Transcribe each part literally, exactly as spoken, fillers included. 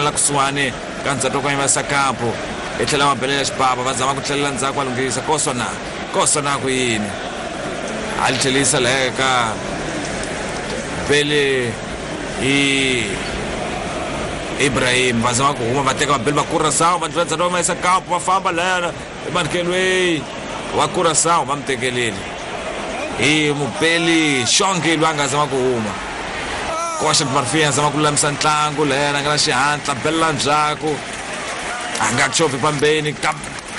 la kusuhani ka ndzhato ka yimesa kampo hi tlhela va belela xibaba va zama ku tlhelela ndzhaku va lunghisa kosona kosona ku yini a li tlhelisa laha ka bele i Ibrahim va zama ku huma va teka vabeli va Curaçao va ndlula ndzhato va yimesa kampo va famba lahayana emankelweni wa Curaçao va mi tekeleli hi mubeli Xongi loyi a nga zama ku huma Costa do Marfim a zama ku lulamisa ntlangu lahayana a nga na xihatla belela ndzhaku a nga chovhi pambeni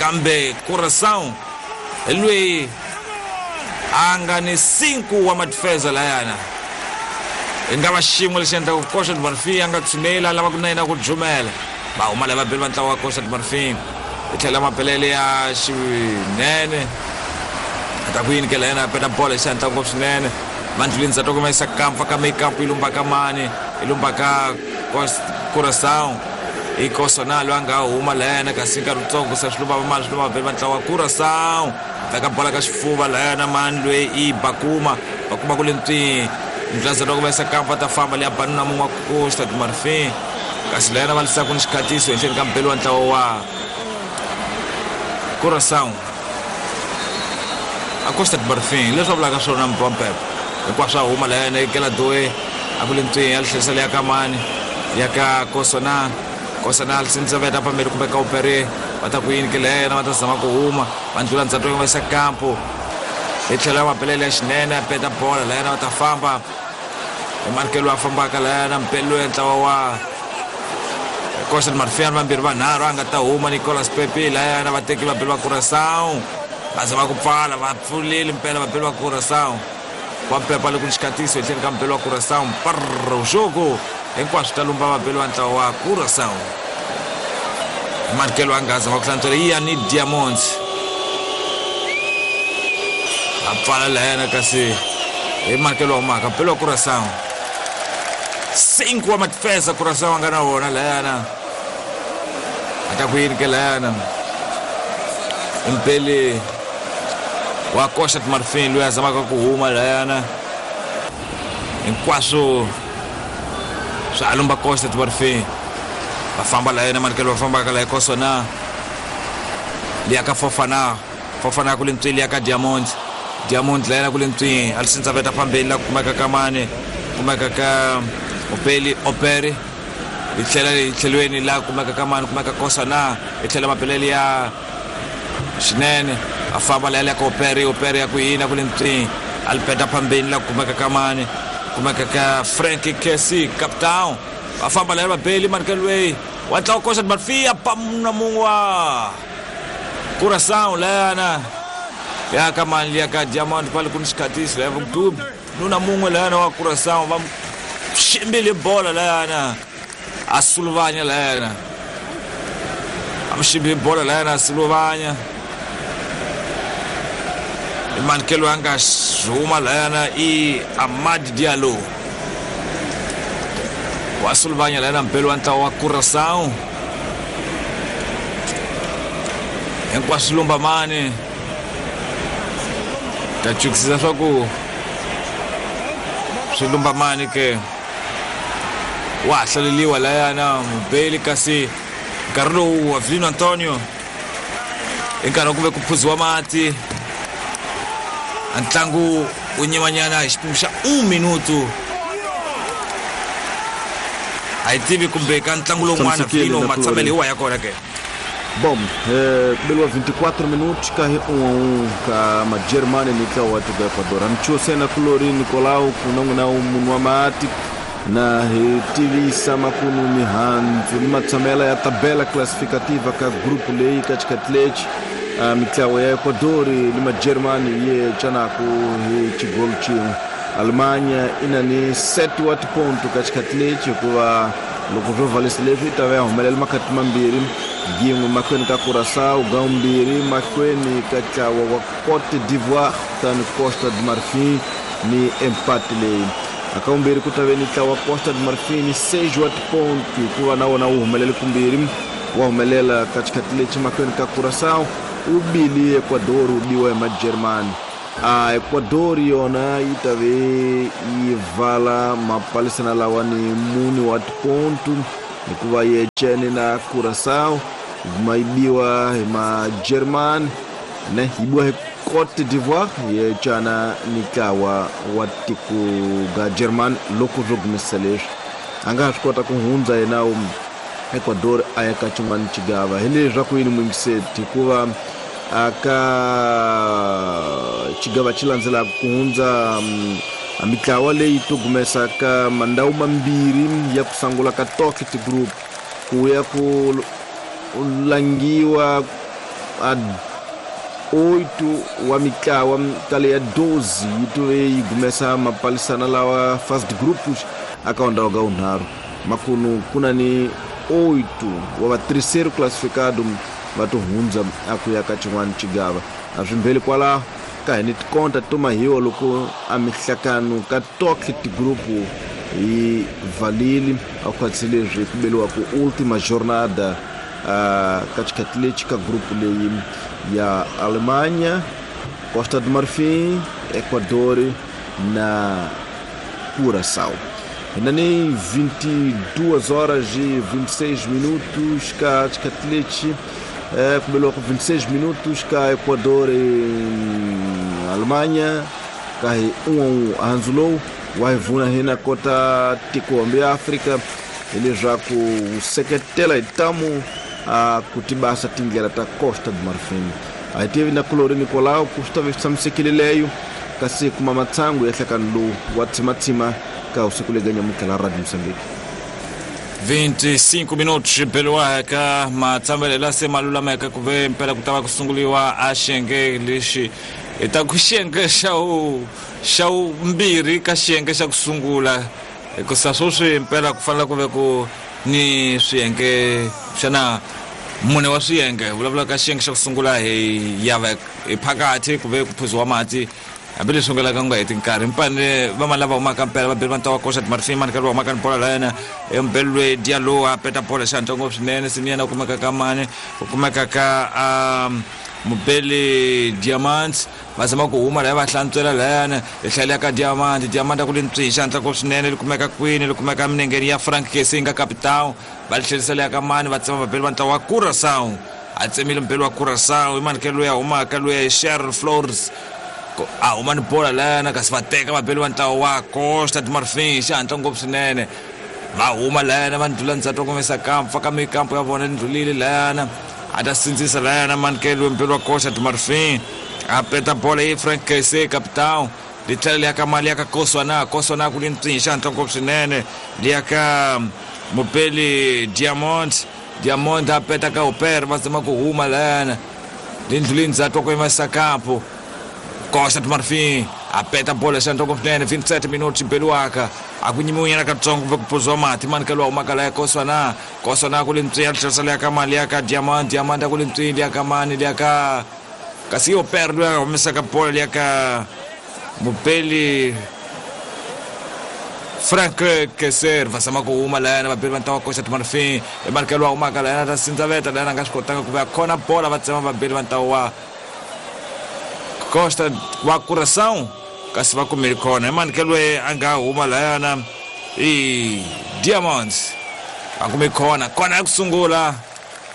kambe Curaçao hi loyi a nga ni cinco wa madifeza lahayana hi nga va xin'we lexi endlaku Costa do Marfim a nga tshuneli a lava ku na yena ku jumela va huma lava beli va ntlawa wa Costa do Marfim hi tlhela mapelele ya xinene a ta ku yini ke lahayana a peta bolo hi xihatla ngopfu swinene va ndluleni ndzhato kuma yisa kampa ka mekampo yi lumba ka mani yi lumba ka Curaçao i Kosona loyi a nga huma lahayana kasi nkarhi wutsongo se swi lumba vamani swi lumba vabeli va ntlawa wa Curaçao veka bola ka xifuva lahayana mani loyi i Bakuma Bakuma ku le ntwini ndlula ndzhato kuma yisa kampa ta famba leya banuna mun'we wa Costa do Marfim kasi lahayana va lisaku ni xikhatiso henhleni ka mbeli wa ntlawa wa Curaçao a Costa do Marfim leswi va vulaka swona mpompepo hinkwaswo swa huma lahayana ekela doe a ku le ntwini ya litlherisa leya ka mani ya ka Kosona Kosona lisindzaveta pambeni kumbe ka Opere va ta ku yini ke lahayana va ta zama ku huma va ndlula ndzhato va yisa kampo hi tlhelo ya mapelele ya xinene a peta bola lahayana va ta famba hi manikelo a fambaka lahayana mpeli loyi ntlawa wa Costa do Marfim vambirhi vanharhu a nga ta huma Nicolas Pepe lahayana va teki vabeli va Curaçao va zama ku pfala va pfuleli mpela vabeli va Curaçao va mpepa le ku ni xikhatiso henhleni ka mpelo wa Curaçao mparro jogo hinkwaswo ta lumba vabeli va ntlawa wa Curaçao manikelo a nga zama ku hlantswela Ian Diamonds a pfala lahayana kasi hi manikelo wa humaka mpelo wa Curaçao cinco wa madifesa Curaçao a nga na wona lahayana a ta ku yini ke lahayana mpeli wa Costa do Marfim loyi a zamaka ku huma lahayana hinkwaswo swa lumba Costa do Marfim va famba lahayana manikelo va fambaka laha Kosona liya ka Fofana Fofana ku le ntswini liya ka Diamond Diamond lahayana ku le ntswini a lisindzaveta phambeni la kumeka ka mani kumeka ka Opeli Opere hi tlhela hi tlhelweni la kumeka ka mani kumeka Kosona hi tlhela mapelele ya xinene a famba lahaya ka Opere Opere ya ku yini ku le ntswini a li peta phambeni la kumeka ka mani kumeka ka Frank Kessi Capitão va famba lahaya vabeli manikelo loyi wa ntlawa Costa do Marfim a pamuna mun'we wa Curaçao lahayana ya ka mani liya ka Diamond pale ku ni xikhatiso lahaya vudubi nuna mun'we lahayana wa Curaçao va ximbile bola lahayana a suluvanya lahayana a mu ximbile bola lahayana a suluvanya manikelo a nga huma lahayana i Amad Diallo wa suluvanya lahayana mpelo wa ntlawa wa Curaçao hinkwaswo lumba mani ta chukisisa swa ku swi lumba mani ke wa ha hlaleliwa lahayana mubeli kasi nkarhi lowu wa Vino Antonio i nkarhi wa ku ve ku phuziwa mati ntlangu wu nyimanyana hi xipimo xa un minuto a hi tivi kumbe ka ntlangu lowun'wana Vino matshamelo hi wa ya kona ke. Bom, eh, kubeliwa vinte e quatro minutos ka hi um a um ka majermani ni ntlawa wa tiko Ecuador. Hamchuo kulori Nicolau kunangu na munhu wa mati na hi tivisa makunu mihandzu ni matshamela ya tabela classificativa ka grupo leyi ka xikati lexi uh, mitlawa ya Ecuador ni majermani ye canaku hi xigolo xin'we. Alemanha i na ni sete wa tiponto ka xikati lexi hikuva loko swo valisa leswi yi ta va ya humelela makhati mambirhi yin'we mahlweni ka Curaçao gambirhi mahlweni ka ntlawa wa Côte d'Ivoire kutani Costa do Marfim ni empate leyi aka vumbirhi ku ta ve ni ntlawa Costa do Marfim ni seis wa tiponto hikuva na wona wu humelele kumbirhi wa humelela ka xikati lexi mahlweni ka Curaçao wu bile Ecuador wu biwa hi majermani. A Ecuador yona yi ta ve yi vala mapalisana lawa ni mune wa tiponto hikuva yi ecene na Curaçao guma yi biwa hi ma-German ne yi biwa hi Côte d'Ivoire yi ecana ni ntlawa wa tiko ga German loko swo gumisa leswi a nga ha swi kota ku hundza yena Ecuador a ya ka xin'wana xigava hi leswaku yini muyingiseti hikuva aka xigava xi landzelaka ku hundza a mitlawa leyi to gumesa ka mandhawu mambirhi ya ku sungula ka Tocket Group ku ya ku langiwa a oito wa mitlawa ka leya doze yi to yi gumesa mapalisana lawa first groups aka ndhawu ga unharhu makunu kuna ni oito wa va terceiro classificado va to hundza a ku ya ka xin'wana xigava a swi mbeli kwalaho ka hi ni tikonta to mahiwa loko a mihlakano ka Tocket Group yi valile a khwatsi leswi ku beliwa ku última jornada uh, ka xikhathi lexi ka group leyi ya Alemanha, Costa do Marfim, Equador na Curaçao. Ainda nem vinte e duas horas e vinte e seis minutos cá xikhathi lexi eh, ku beliwa ku vinte e seis minutos ka Equador e Alemanha ka hi um a um handzu lowu wa hi vuna hina kota tiko hambi ya Afrika hileswaku wu seketela hi tamu a ku tibasa tindlela ta Costa do Marfim a hi tivi na kulori Nicolau ku swi ta va swi tshamisekile leyo kasi kuma matsangu ya nhlekano lowu wa tsimatsima ka usiku lega nyamutlha la Radio Mozambique. vinte e cinco minutos beliwaka matsambele se malulameka ku ve mpela ku ta va ku sunguliwa a xiyenge lexi hi ta ku xiyenge xa wu xa vumbirhi ka xiyenge xa ku sungula hikusa sweswi mpela ku fanele ku ve ku ni swiyenge xana mune wa swiyenge vulavula ka xiyenge xa ku sungula hi ya va hi phakathi ku ve ku phuziwa mati hambileswi nga laka nga heti nkarhi mpane va ma lava humaka mpela va beli va ntlawa Costa do Marfim mani karhi va humaka ni bola la yena embelwe Diallo a peta bola xihatla ngopfu swinene sini yena u kumeka ka mani u kumeka ka um mubeli Diamant va zama ku huma laya va hlantswela layana hi hlayela ka Diamant Diamant a ku li ntswi xihatla ngopfu swinene li kumeka kwini li kumeka minengeni ya Frank Kessing ka capitão va li tlherisela ya ka mani va tsema vabeli va ntlawa wa Curaçao a tsemile mubeli wa Curaçao i mani ke loyi a humaka loyi Cheryl Flores a huma ni bola layana kasi va teka vabeli va ntlawa wa Costa do Marfim xihatla ngopfu swinene va huma layana va ndlula ndzhaku kumesa kampo faka mikampo ya vona ndlulile layana a ta sindzisa layana manikelo mbeli wa Costa do Marfim a peta bola yi Frank Kessé capitão li tlhela liya ka mali ya ka Koswana Koswana ku li ntswi xihatla ngopfu swinene liya ka mubeli Diamond Diamond a peta ka Uper va zama ku huma layana li ndlulile ndzhaku ku yimisa kampo Costa do Marfim a peta bola xihatla ngopfu swinene vinte e sete minutos beliwaka a ku nyimiwa katsongo kumbe ku phuziwa mati mani ka lowa humaka laya Koswana Koswana ku li ntswi ya tlherisa liya ka mali ya ka Diamond Diamond a ku li ntswi liya ka mani liya ka kasi yo per loyi a humesaka bola liya ka mubeli Frank Kessler va zama ku huma layana vabeli va ntlawa Costa do Marfim i mani ka lowa humaka layana ta sindzaveta layana a nga swi kotanga ku va khona bola va tsema vabeli va ntlawa wa Costa wa Curaçao kasi va kumile khona i mani ke loyi a nga huma layana i Diamonds a kume khona khona ya ku sungula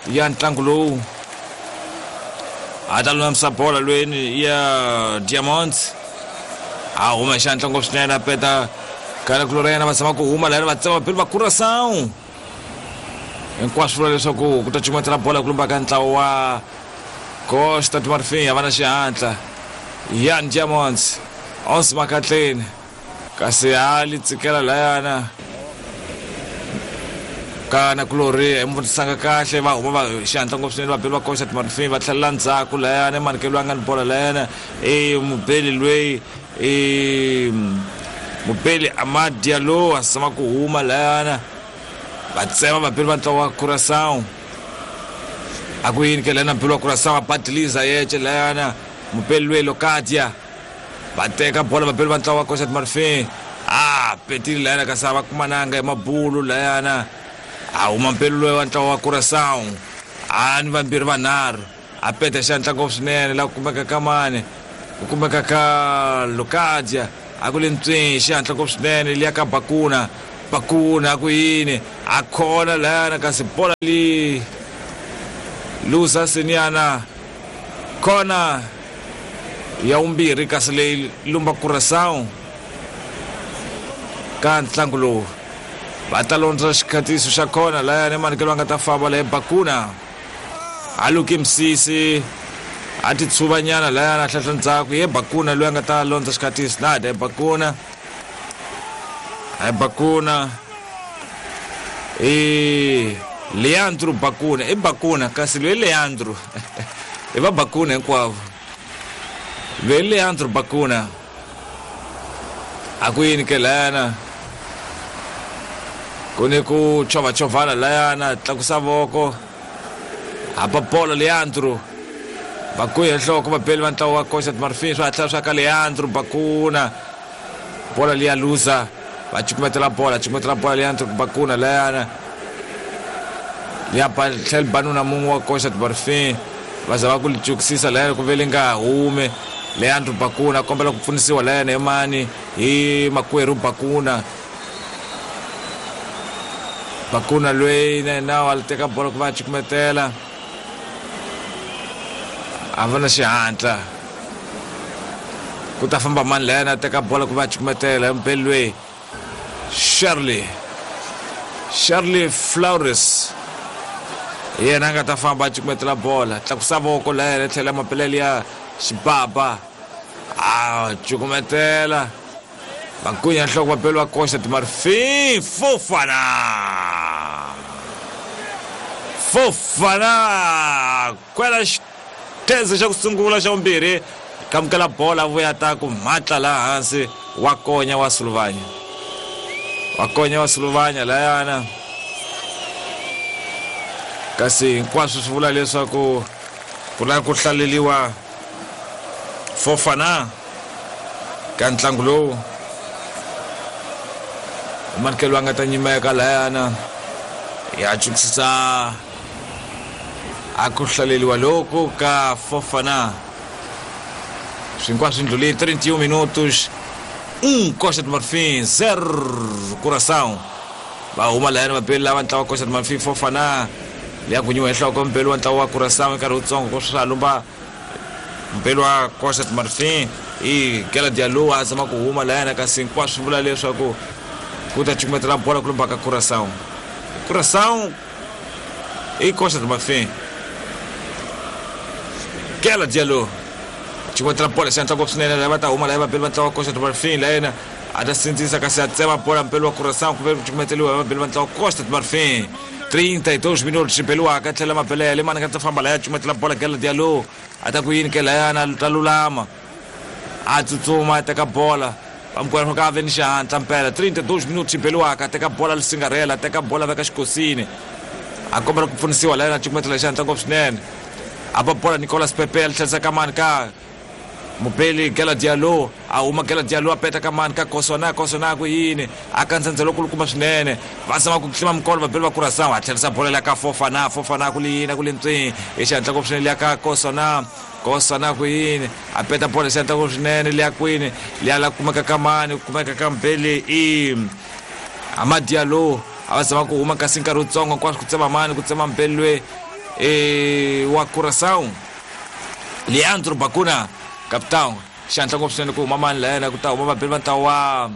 ya ntlangu lowu a ta lulamisa bola lweni ya Diamonds a huma xihatla ngopfu swinene a peta kana kulora yena va zama ku huma layana va tsema vabeli va Curaçao hinkwaswo vula leswaku ku ta cumatela bola ku lumba ka ntlawa wa Costa do Marfim a va na xihatla Yan Diamonds onze makatleni kasi a li tsikela layana kana kulori hi mutisanga kahle va huma va xihatla ngopfu swinene vabeli va Costa do Marfim va tlhelela ndzhaku layana manikelo a nga ni bola layana i mubeli loyi i mubeli Amad Diallo a zama ku huma layana va tsema vabeli va ntlawa wa Curaçao a ku yini ke layana mubeli wa Curaçao a badiliza yece layana mubeli loyi Locadia va teka bola vabeli va ntlawa wa Costa do Marfim a petile layana kasi a va kumananga hi mabulu layana a huma mpeli loyi wa ntlawa wa Curaçao a ni vambirhi vanharhu a peta xihatla ngopfu swinene laha ku kumeka ka mani ku kumeka ka Locadia a ku le ntswi xihatla ngopfu swinene liya ka Bakuna Bakuna ku yini a khona lana kasi bola li luza siniana kona ya umbirhi kasi leyi lumba Curaçao ka ntlangu lowu va ta londza xikhatiso xa kona layani manikelo va nga ta famba leyi Bakuna a luki misisi a ti tshuvanyana layani a hlahla ndzhaku ye Bakuna loyi a nga ta londza xikhatiso na de Bakuna a Bakuna e Leandro Bakuna i Bakuna kasi loyi Leandro i va Bakuna hinkwavo loyi Leandro Bakuna a ku yini ke layana ku ni ku chovachovana layana tlakusa voko hapa bola Leandro Bakuna nhloko vapeli va ntlawa wa Costa do Marfim swa hatla swa ka Leandro Bakuna bola liya luza va cukumetela bola cukumetela bola Leandro Bakuna layana ya tlhela banuna mun'we wa Costa do Marfim va za va ku li cukisisa layana ku ve li nga hume Leandro Bakuna kombela ku pfunisiwa layana hi mani hi makwerhu Bakuna Bakuna loyi na yena a teka bola ku va cukumetela a va na xihatla ku ta famba mani layana a teka bola ku va cukumetela mpeli loyi Shirley Shirley Flores yena a nga ta famba a cukumetela bola tlakusa voko layana tlhela mapelele ya xibaba a cukumetela Bakunya nhloko vapeli va Costa do Marfim Fofana Fofana kwela xitheze xa ku sungula xa vumbirhi kamukela bola vuya ta ku matla laha hansi wa konya wa Suluvanya wa konya wa Suluvanya layana kasi hinkwaswo swi vula leswaku ku lava ku hlaleliwa Fofana ka ntlangu lowu manikelo a nga ta nyimeka layana ya cukisisa a ku hlaleliwa loko ka Fofana swinkwaswo ndlule trinta e um minutos um Costa do Marfim zero Curaçao va huma layana vapeli lava ntlawa wa Costa do Marfim Fofana liya kunyiwa hi nhloko mpeli wa ntlawa wa Curaçao nkarhi wutsongo ku swa lumba mpeli wa Costa do Marfim i Gela Diallo a zama ku huma layana kasi hinkwaswo swi vula leswaku ku ta cukumetela bola ku lumba ka Curaçao Curaçao i Costa do Marfim Gela Diallo cukumetela bola xihatla ngopfu swinene lava ta huma laya vapeli va ntlawa wa Costa do Marfim layena a ta sindzisa kasi a tsema bola mpeli wa Curaçao ku ve ku cukumeteliwa hi vapeli va ntlawa wa Costa do Marfim trinta e dois minutos xibeliwaka tlhela mapelele mani nga ta famba laya cukumetela bola Gela Diallo a ta ku yini ke layana ta lulama a tsutsuma a teka bola vamkwena ka ve ni xihatla mpela trinta e dois minutos xibeliwaka a teka bola lisingarhela a teka bola veka xikosini a kombela ku pfunisiwa layena cukumetela xihatla ngopfu swinene a ba bola Nicolas Pepe a tlherisa ka mani ka mupeli Gela Diallo a huma Gela Diallo a peta ka mani ka Kosona Kosona ku yini a kandzandza lokulukumba swinene va zama ku tlima mikolo vapeli va Curaçao a tlherisa bola liya ka Fofana Fofana ku li yini ku li ntswi hi xihatla ngopfu swinene liya ka Kosona Kosona ku yini a peta bola xihatla ngopfu swinene liya kwini liya la kumeka ka mani kumeka ka mpeli i Amad Diallo a va zama ku huma kasi nkarhi wutsongo hinkwaswo ku tsema mani ku tsema mpeli loyi e wa Curaçao Leandro Bakuna capitão xihatla ngopfu swinene ku huma mani layena ku ta huma vapeli va ntlawa wa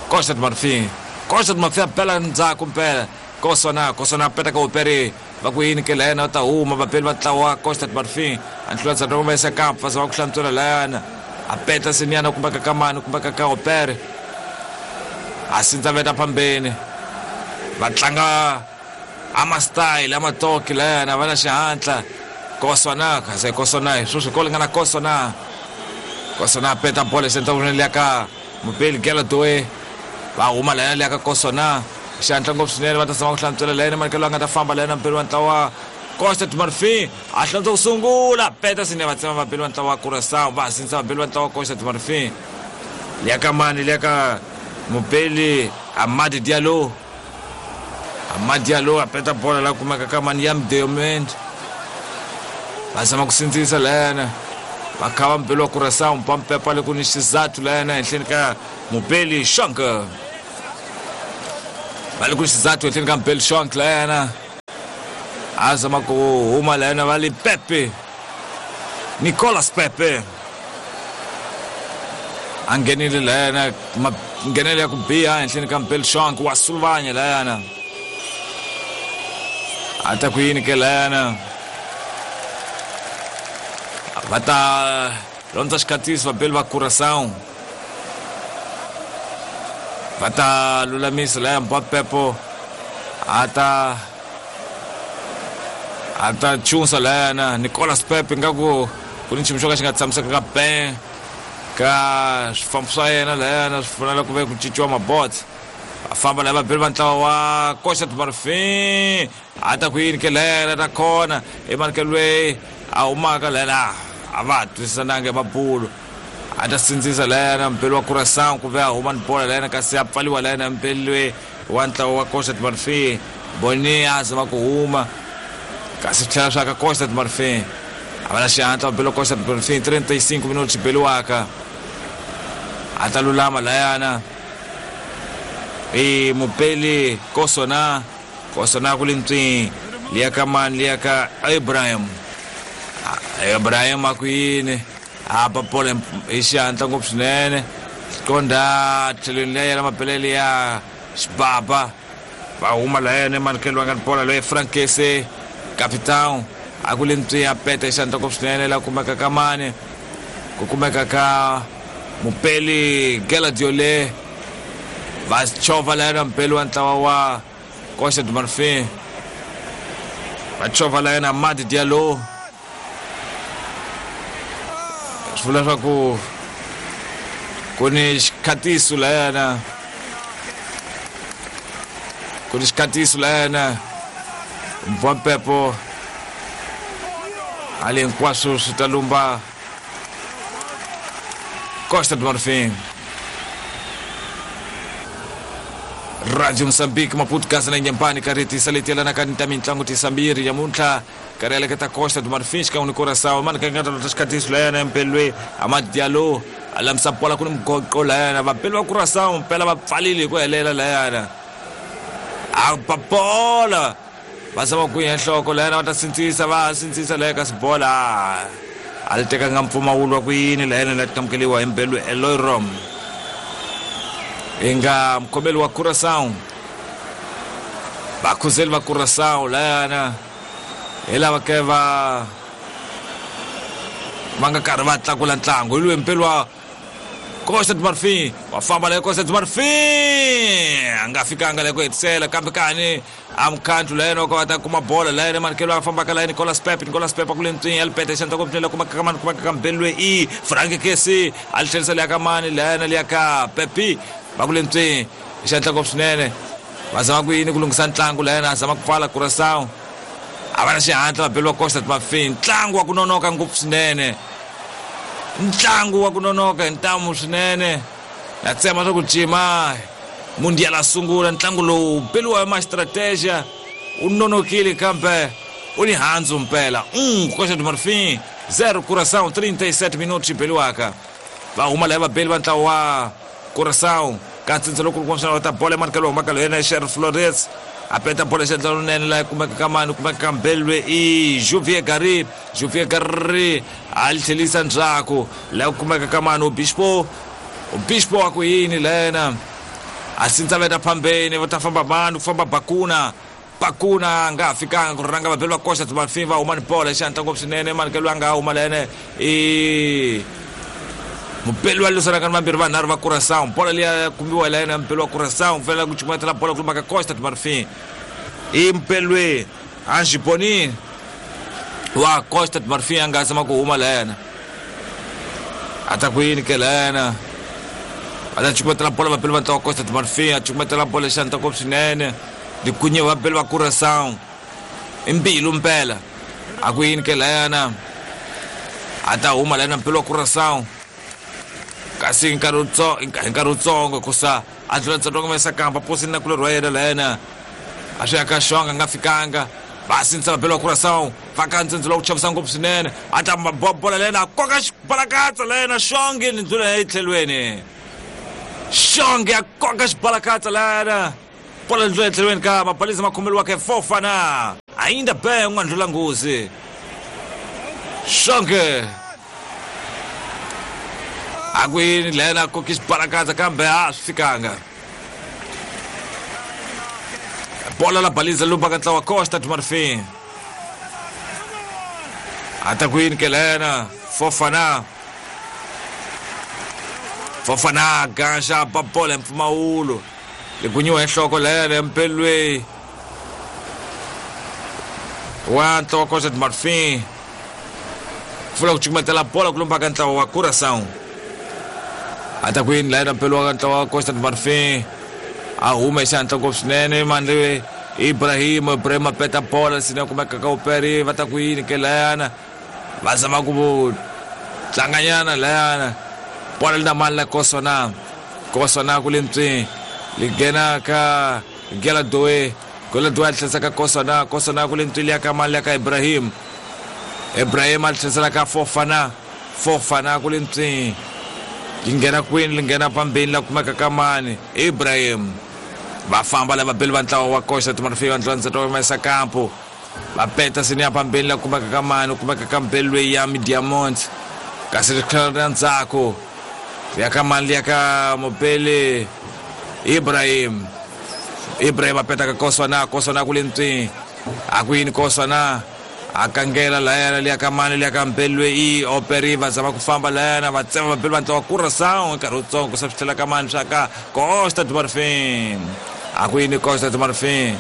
Costa do Marfim Costa do Marfim a bela ndzhaku mpela Kosona Kosona a peta ka Opere va ku yini ke layena va ta huma vapeli va ntlawa wa Costa do Marfim a nhlula ndzhaku va yisa kampa va zama ku hlantswela layana a peta siniana kumbeka ka mani kumbeka ka Opere a sindza veta phambeni va tlanga ama style ama toki layana va na xihatla Kosona kasi Kosona hi sweswi ko lingana Kosona Kosona a peta bola xenta liya ka mupeli Gela Doe va huma layana liya ka Kosona xihatla ngopfu swinene va ta zama ku hlantswela layena manikelo a nga ta famba layena mpeli wa ntlawa Costa do Marfim a hlantswa ku sungula peta swinene va tsema vapeli va ntlawa wa Curaçao va sindzisa vapeli va ntlawa wa Costa do Marfim liya ka mani liya ka mupeli Amad Diallo Amad Diallo a peta bola la kumeka ka mani ya Mdeomend va zama ku sindzisa layana va khava mpeli wa Curaçao mpampepa le ku ni xizathu layana henhleni ka mupeli Shanka Va le ku xizathu etlheni ka Mpeli Shonk layana a zama ku huma layana va le Pepe Nicolas Pepe a nghenile layana nghenele ya ku biha ehenhleni ka Mpeli Shonk wa sulvanya layana a ta ku yini ke layana va ta londza xikhatisi vabeli va Curaçao va ta lulamisa laya Mbapepo a ta a ta chunsa layana Nicolas Pepe ngaku ku ni nchumu xo ka xi nga tshamisekanga ben ka swifambo swa yena layana swi fanele ku ve ku cinciwa mabots va famba laya vabeli va ntlawa wa Costa do Marfim a ta ku yini ke layana ta khona emanekelwe a humaka layana a va twisisananga hi mabulu a ta sindzisa layana mpeli wa Curaçao ku ve a huma ni bola layana kasi a pfaliwa layana mpeli loyi wa ntlawa wa Costa do Marfim Boni a zama ku huma kasi swi tlhela swa ka Costa do Marfim a va na xihatla mpeli wa Costa do Marfim trinta e cinco minutos beliwaka a ta lulama layana i mupeli Kosona Kosona ku le ntswini liya ka mani liya ka Ibrahim Ibrahim a ku yini a ba bola hi xihatla ngopfu swinene qonda tlhelweni liya yena mapelele ya xibaba va huma layena emanikelo va nga ni bola loyi Frankese capitão a ku le ntswini a peta hi xihatla ngopfu swinene la kumeka ka mani ku kumeka ka mupeli Geladiole va chovha layena mpeli wa ntlawa wa Costa do Marfim va chovha layena Madi Diallo swi vula leswaku ku ni xikhatiso layana ku ni xikhatiso layana Mvampepo ali hinkwaswo swi ta lumba Costa do Marfim. Radio Moçambique Maputo Gaza na Inhambane karhi saletelana ka ta mintlangu tisambiri nyamuntlha karhi aleketa Costa do Marfim xikan'we ni Curaçao mani ka nga ta xikhatiso layana mpelwe Amad Diallo a lamisa bola ku ni mugoqo layana vapeli va Curaçao mpela va pfalile hi ku helela layana a ba bola va zama ku ya nhloko layana va ta sindzisa va sindzisa laya kasi bola a li tekanga mpfumawulo wa ku yini layana la amukeliwa hi mpelwe Eloy Rom inga mkhomeli wa Curaçao vakhuzeli va Curaçao layana hi lava ke va va nga karhi va tlakula ntlangu hi loyi mpeli wa Costa do Marfim wa famba leyo Costa do Marfim a nga fikanga leyo ku hetisela kambe kani a mukhandlu layena ka va ta kuma bola layena manikelo a fambaka laya Nicolas Pepe Nicolas Pepe ku le ntswini ya lipeta xandla ku pfunela kumeka ka mani kumeka ka mpeli loyi i Frank Kesi a li tlherisa liya ka mani layena liya ka Pepe va ku le ntswini xandla ngopfu swinene va zama ku yini ku lunghisa ntlangu layena a zama ku pfala Curaçao a va na xihatla vabeli va Costa do Marfim ntlangu wa ku nonoka ngopfu swinene ntlangu wa ku nonoka hi ntamu swinene na tsema swa ku cima mundial a sungula ntlangu lowu beliwa hi ma-strategia u nonokile kambe u ni handzu mpela um Costa do Marfim zero Curaçao trinta e sete minutos beliwaka va huma laya vabeli va ntlawa wa Curaçao ka ntsindza lowu kulukumba va ta bola emanikelo humaka loyena Sheriff Flores a peta bola xandla lonene laha kumeka ka mani kumeka ka mbelwe i Juvier Gary Juvier Gary a li tlhelisa ndzhaku laha kumeka ka mani Obispo Obispo wa ku yini lena a sindza veta phambeni va ta famba mani ku famba Bakuna Bakuna a nga ha fikanga ku rhanga vabeli va Costa do Marfim va huma ni bola xandla ngopfu swinene manikelo a nga huma lene i mupeli wa lwisanaka ni vambirhi vanharhu va Curaçao bola liya kumiwa layena mupeli wa Curaçao fanele ku cukumetela bola ku lumaka Costa do Marfim i mupeli loyi Ange Boni wa Costa do Marfim a nga zama ku huma layena a ta ku yini ke layena va ta cukumetela bola vapeli va ntlawa wa Costa do Marfim a cukumetela bola xandla ngopfu swinene dikunye vapeli va Curaçao i mbilu mpela a ku yini ke layena a ta huma layena mpeli wa Curaçao kasi hi nkarhi hi nkarhi wutsongo kusa a dlula ntsongo mesa kamba posini na kulorhi wa yena layena a swi ya ka xonga a nga fikanga va sindzisa vabeli wa Curaçao va ka ntsindzi lowu chavisa ngopfu swinene a ta bola layena a koka xibalakatsa layena xonge ni ndlula ya etlhelweni xonge a koka xibalakatsa layena Bola ndlula etlhelweni ka Mapalisa makhomeliwaka Fofana. Ainda bem u nga ndlula nghozi. Xonge. Akwini lena kokis barakata kambe a swi fikanga. Bola la baliza lumba ka ntlawa Costa do Marfim. Atakwini ke lena Fofana. Fofana ganxa ba bola mpfumawulo. Ligunyiwa enhloko lena empelweni. Wa ntlawa Costa do Marfim. Pfula ku cukumetela bola ku lumba ka ntlawa wa Curaçao. Atakwini lena mpelo wa ntlawa wa Costa do Marfim. A huma xandla ngopfu swinene mandle Ibrahim Ibrahim a peta bola sina kumeka ka uperi va ta ku yini ke layana va zama ku tlanganyana layana bola li na mali la Kosona Kosona ku le ntswini li nghena ka Gela Doe Gela Doe a tlhesa ka Kosona Kosona ku le ntswini ya ka mali ya ka Ibrahim Ibrahim a tlhesela ka Fofana Fofana ku le ntswini li nghena kwini li nghena pambeni la kumeka ka mani Ibrahim va famba lava beli va ntlawa wa Costa do Marfim va ndlwandzeta wa humesa kampo va peta sini ya pambeni la kumeka ka mani kumeka ka mbeli loyi ya Diamond kasi ri tlhela ra ndzhaku ya ka mani ya ka Mobele Ibrahim Ibrahim a peta ka Kosona Kosona ku le ntswini a ku yini Kosona a kangela layana liya ka mani liya ka mbeli loyi i Operi va zama ku famba layana va tsema vabeli va ntlawa wa Curaçao nkarhi wutsongo ku sa swi tlhela ka mani swa ka Costa do Marfim a ku yini Costa do Marfim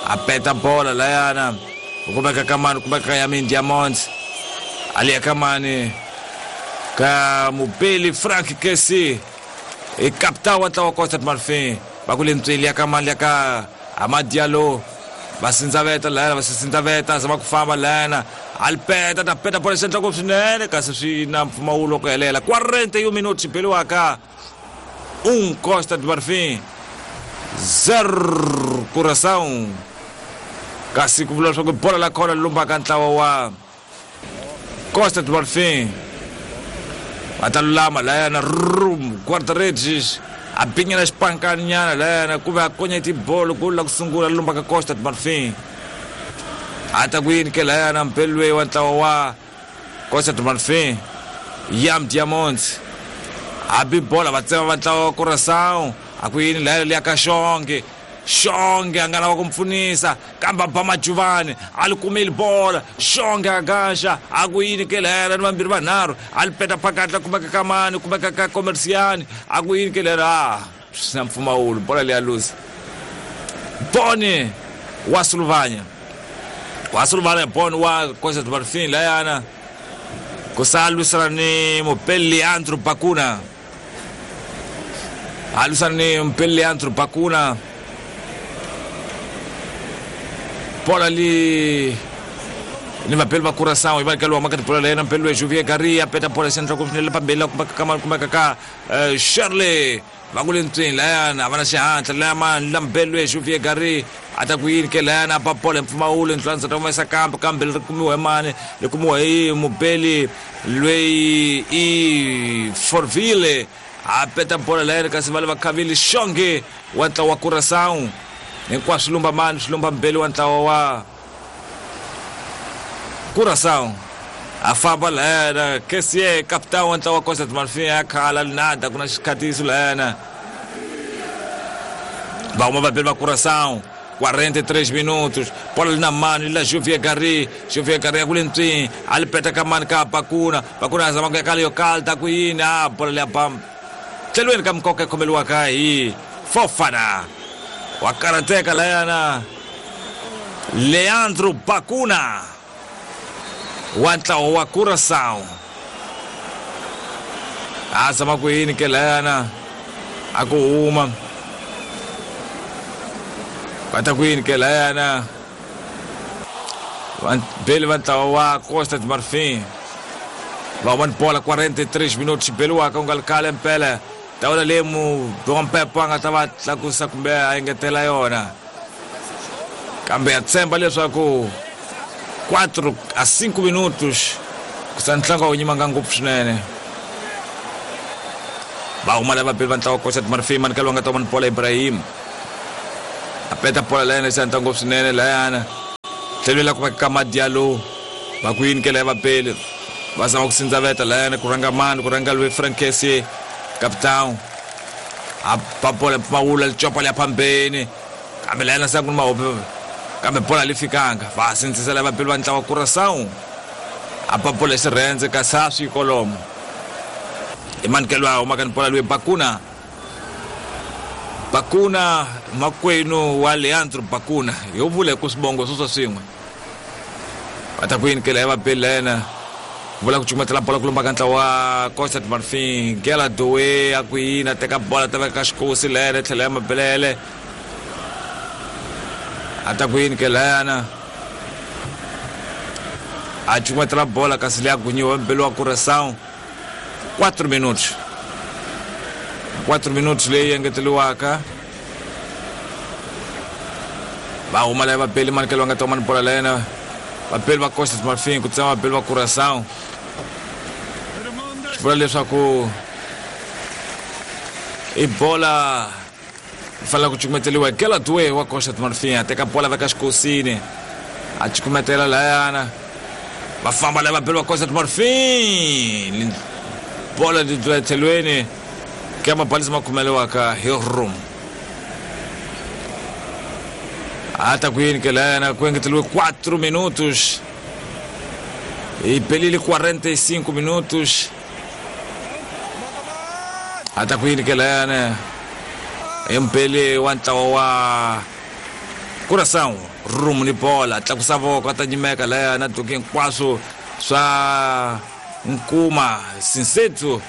a peta bola layana ku kumeka ka mani kumeka ka Yamin Diamond a liya ka mani ka Mobele Frank Kesi i capitão wa ntlawa wa Costa do Marfim va ku le ntswini liya ka mani liya ka Amad Diallo va sindzaveta layana va sindzaveta zama ku famba layana alipeta ta peta bola xandla ngopfu swinene kasi swi na mpfumawulo ku helela quarenta e um minutos xibeliwaka um Costa do Marfim zero Curaçao kasi ku vula leswaku bola la khona lumbaka ntlawa wa Costa do Marfim va ta lulama layana rum guarda-redes a binyana xipankanyana layana ku ve a konya tibolo golo la ku sungula lumba ka Costa do Marfim a ta ku yini ke layana mpelwe wa ntlawa wa Costa do Marfim Yam Diamond a bi bola va tsema va ntlawa wa Curaçao a ku yini layana liya ka Xonge Xonge a nga lava ku mi pfunisa kambe a ba Majuvani a li kumeli bola Xonge a gaxa a ku yini ke lera ni vambirhi vanharhu a li peta phakati la kumeka ka mani kumeka ka Comerciani a ku yini ke lera a swi na mpfumawulo bola leya luza Boni wa Sulvanya wa Sulvanya Boni wa Costa do Marfim layana ku sa lwisana ni Mopeli Leandro Bakuna a lwisana ni Mopeli Leandro Bakuna bola li ni vapeli va Curaçao iva kaliwa makati bola lena mpeli loyi Juvier Gary a peta bola xandla ku swinene pambeni la kumeka ka mani kumeka ka Shirley va ku le ntswini layana a va na xihatla laya mani la mpeli loyi Juvier Gary a ta ku yini ke layana a ba bola hi mpfumawulo ndlwandzeta humesa kambe kambe ri kumiwa hi mani ri kumiwa hi Mobeli loyi i Forville a peta bola layana kasi va le va khavile Xonge wa ntlawa wa Curaçao hinkwaswo lumba mani swi lumba mbeli wa ntlawa wa Curaçao a famba layana Kessie capitão wa ntlawa wa Costa do Marfim a khala nada ku na xikhatiso layana va huma vabeli va Curaçao quarenta e três minutos bola li na mani la Juvier Gary Juvier Gary ku le ntswini a li peta ka mani ka Bakuna Bakuna a zama ku ya ka leyo kalta ku yini a bola leya bam tlhelweni ka mikoka yi khomeliwaka hi Fofana wa karateka layana Leandro Bakuna wa ntlawa wa Curaçao a zama ku yini ke layana a ku huma va ta ku yini ke layana beli va ntlawa wa Costa do Marfim va huma ni bola quarenta e três minutos xibeliwaka u nga li khale mpela tawula leyi Mpepo a nga ta va tlakusa kumbe a engetela yona kambe ya tshemba leswaku quatro a cinco minutos ku sa ntlangu a wu nyimanga ngopfu swinene va huma lava beli va ntlawa Costa do Marfim manikelo wa nga ta huma ni bola Ibrahim A peta bola layana xi ngopfu swinene layana tlhelweni la kumeka ka Madialo va ku yini ke laya vapeli va zama ku sindzaveta layana ku rhanga mani ku rhanga loyi Frankesi capitão a ba bola mpfumawulo licopa liya phambeni kambe layana sa ku ni mahope kambe bola li fikanga va sindzisela vapeli va ntlawa Curaçao a ba bola xirhendze kasi a swi kolomo i manikelo a humaka ni bola loyi Bakuna Bakuna makwenu wa Leandro Bakuna yo vula ku swibongo swo swin'we va ta ku yini ke laya vapeli layana vula ku cukumetela bola ku lomba ka ntlawa wa Costa do Marfim Gela Doe a ku yini a teka bola ta veka xikosi layana tlhela ya mabelele a ta ku yini ke layana a cukumetela bola kasi leya gunyiwa mbeli wa Curaçao quatro minutos quatro minutos leyi engeteriwaka va huma laya vapeli manikelo va nga ta huma ni bola layena vapeli va Costa do Marfim ku tsema vapeli va Curaçao swi vula leswaku i bola yi fanele ku cukumeteliwa Gela Doe wa Costa do Marfim a teka bola veka xikosini a cukumetela layana va famba laya vapeli va Costa do Marfim bola li dlula etlhelweni ke mabalisi ma khomeliwaka hi room a ta ku yini ke layana ku engeteriwe quatro minutos i pelile quarenta e cinco minutos a ta ku yini ke layana i mpeli wa ntlawa wa Curaçao room ni bola tlakusa voko a ta nyimeka layana duki hinkwaswo swa nkuma Sinsetso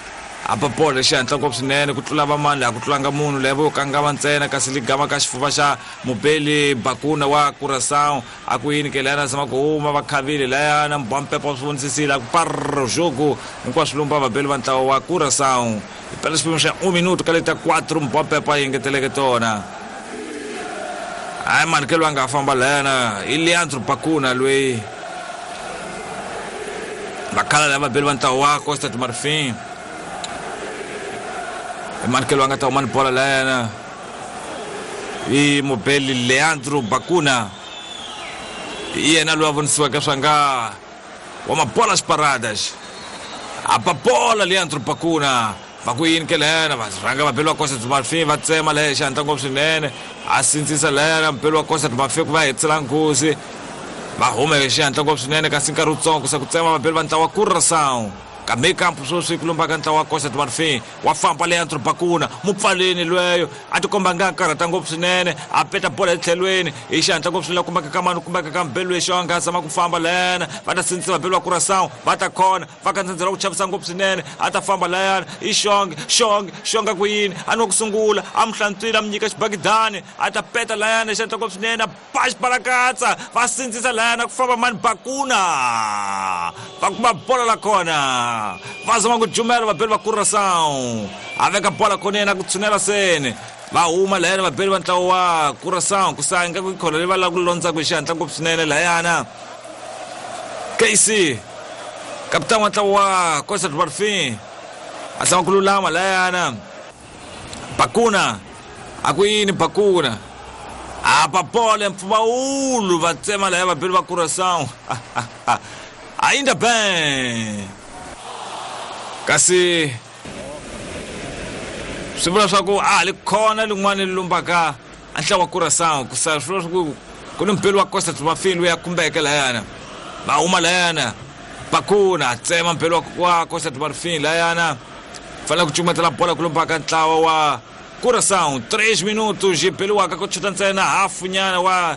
apa bola xihatla ngopfu swinene ku tlula vamani laha ku tlulanga munhu leyi vo kangama ntsena kasi ligama ka xifuva xa mubeli Bakuna wa Curaçao a ku yini ke layana zama ku huma va khavile layana mbampepa swi vonisisile a ku parro jogo hinkwaswo lumba vabeli va ntlawa wa Curaçao hi pela xiphemu xa un minuto ka leta quatro mbampepa yi engeteleke tona hayi mani ke loyi a nga famba layana i Leandro Bakuna loyi vakhala lava vabeli va ntlawa wa Costa do Marfim manikelo a nga ta huma ni bola layana i mubeli Leandro Bakuna i yena loyi a vonisiweke swa nga wa mabola xiparadas a ba bola Leandro Bakuna va ku yini ke layana va rhanga vabeli va Costa do Marfim va tsema laya xihatla ngopfu swinene a sindzisa layana mubeli wa Costa do Marfim ku va hetisela nghozi va huma hi xihatla ngopfu swinene kasi nkarhi wutsongo ku se ku tsema vabeli va ntlawa Curaçao kambe kampo sweswi ku lumba ka ntlawa wa Costa do Marfim wa famba Leandro Bakuna mupfaleni lweyo a tikomba nga karhata ngopfu swinene a peta bola etlhelweni hi xihatla ngopfu swinene kumbeka ka mani kumbeka ka mbeli lexi a nga zama ku famba layana va ta sindzisa vabeli va Curaçao va ta khona va ka ndzhendzela ku chavisa ngopfu swinene a ta famba layana i xonge xonge xonga ku yini a ni wa ku sungula a mu hlantswile a mu nyika xibakidani a ta peta layana hi xihatla ngopfu swinene a ba xibalakatsa va sindzisa layana ku famba mani Bakuna va kuma bola la kona va zama ku jumela vabeli va Curaçao a veka bola konene a ku tshunela seni va huma layana vabeli va ntlawa wa Curaçao ku sa ingaku ikhona leyi va lava ku londzaka hi xihatla ngopfu swinene layana K C kapitani wa ntlawa wa Costa do Marfim a zama ku lulama layana Bakuna a ku yini Bakuna a ba bola mpfumawulo va tsema laya vabeli va Curaçao ainda bem kasi swi vula swa ku a li khona lin'wana li lumbaka a ntlawa wa Curaçao ku sa swi vula swa ku ku ni mpeli wa Costa do Marfim loyi a khumbeke layana va huma layana Bakuna a tsema mpeli wa Costa do Marfim layana fanele ku cukumetela bola ku lumbaka ntlawa wa Curaçao três minutos yi beliwaka ku chuta ntsena hafu nyana wa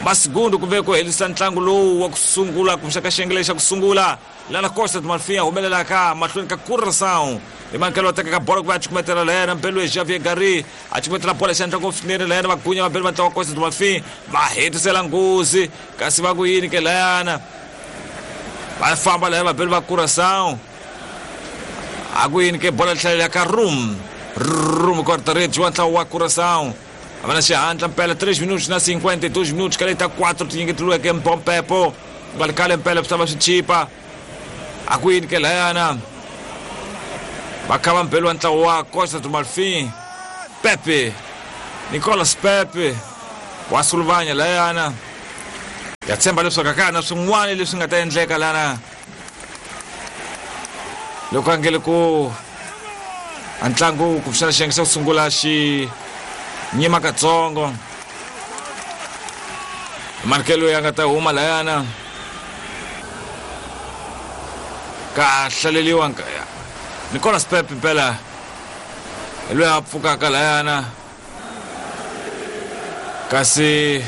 masigundu kumbe ku herisa ntlangu lowu wa ku sungula kumbe ka xiyenge lexi xa ku sungula lana Costa do Marfim a humelelaka mahlweni ka Curaçao hi mankelo wa tekaka bola ku va a cukumetela layana mbeli Xavier Gary a cukumetela bola xihatla ngopfu swinene layana va gunya vabeli va ntlawa Costa do Marfim va hetisela nghozi kasi va ku yini ke layana va famba laya vabeli va Curaçao a ku yini ke bola hlalela ka room room quarta-rede wa ntlawa wa Curaçao a va na xihatla mpela três minutos na cinquenta e dois minutos ka leta quatro tinyiketiweke mpompepo nga ri khale mpela swi ta va swi chipa a ku yini ke layana va kha va mbeli wa ntlawa wa Costa do Marfim Pepe Nicolas Pepe Wa Sulvanya layana ya tshemba leswaku ka na swin'wana leswi nga ta endleka lana loko a ngele ku a ntlangu ku xana xiyenge xa ku sungula xi nyima katsongo markelo ya nga ta huma layana ka hlaleliwa Nicolas Pepe mpela loyi a pfukaka layana kasi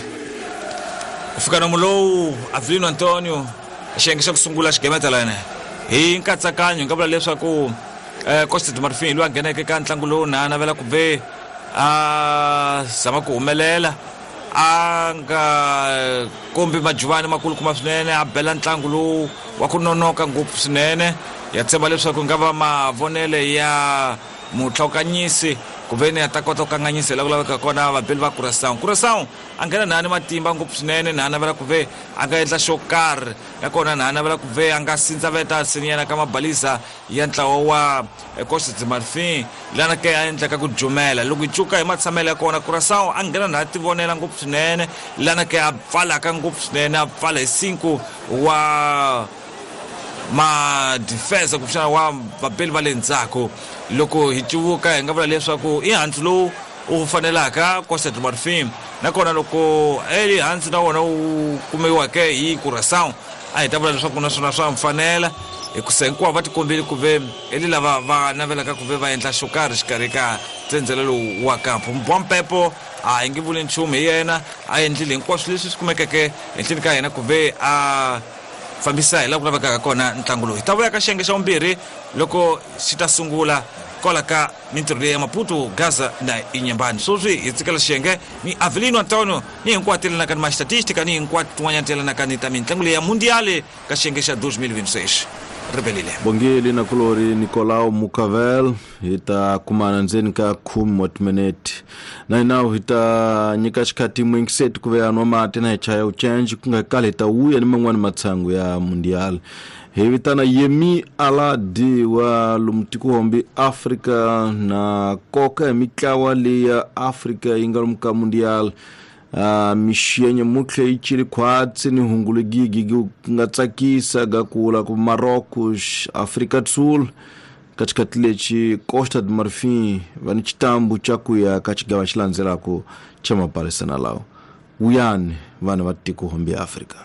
ku fika nomu lowu Avelino Antonio xiyenge xa ku sungula xigemeta layana hi nkatsakanyo hi nga vula leswaku Costa do Marfim loyi a ngheneke ka ntlangu lowu na a navela ku ve a zama ku humelela a nga kombi majuvani makulukumba swinene a bela ntlangu lowu wa ku nonoka ngopfu swinene ya tshemba leswaku nga va mavonele ya mutlhawukanyisi ku ve ni a ta kota ku kanganyisa la ku laveka kona vabeli va Curaçao. Curaçao a nghena na ni matimba ngopfu swinene na a navela ku ve a nga endla xo karhi nakona na a navela ku ve a nga sindzaveta sinyana ka mabalisa ya ntlawa wa Costa do Marfim lana ke a endlaka ku jumela loko hi cuka hi matshamelo ya kona Curaçao a nghena na a tivonela ngopfu swinene lana ke a pfalaka ngopfu swinene a pfala hi cinco wa ma defense kumbexana wa vabeli va le ndzhaku loko hi cuvuka hi nga vula leswaku i handzu lowu u fanelaka Costa do Marfim nakona loko eli handzu na wona wu kumiweke hi Curaçao a hi ta vula leswaku naswona swa mfanela hikusa hinkwavo va tikombile ku ve eli lava va navelaka ku ve va endla xo karhi xikarhi ka tsendzelo lowu wa kampo Mbwampepo a hi nge vuli nchumu hi yena a endlile hinkwaswo leswi swi kumekeke henhleni ka yena ku ve a fambisa hi laha ku lavekaka kona ntlangu lowu hi ta vuya ka xiyenge xa vumbirhi loko xi ta sungula kwala ka mintirho leyi ya Maputo Gaza na Inhambane sweswi hi tsikela xiyenge ni Avelino Antonio ni hinkwato yelanaka ni ma-statistica ni hinkwato tin'wanyana ti yelanaka ni ta mintlangu leyi ya mundiale ka xiyenge xa deux mille vingt-six ribelile bongeli na kulori Nicolau Mucavel hi ta kumana ndzeni ka khume wa timinete na hinawu hi ta nyika xikhathi muyingiseti ku ve a nwa mati na hi chaya u change ku nga kali hi ta wuya ni man'wani matshangu ya mundial hi vitana Yemi Alade wa lomu tikohombi Afrika na koka hi mitlawa leyi ya Afrika yi nga lomu ka mundial Uh, mixenye mutlhe yi cili khwatsi ni hungulu gigi ku nga tsakisa ga kula ku Marrocos Afrika do Sul ka xikhathi lexi Costa do Marfim va ni xitambu xa ku ya ka xigava xi landzelaka xa mapalisana lawa wuyani vanhu va tiko hombi Afrika.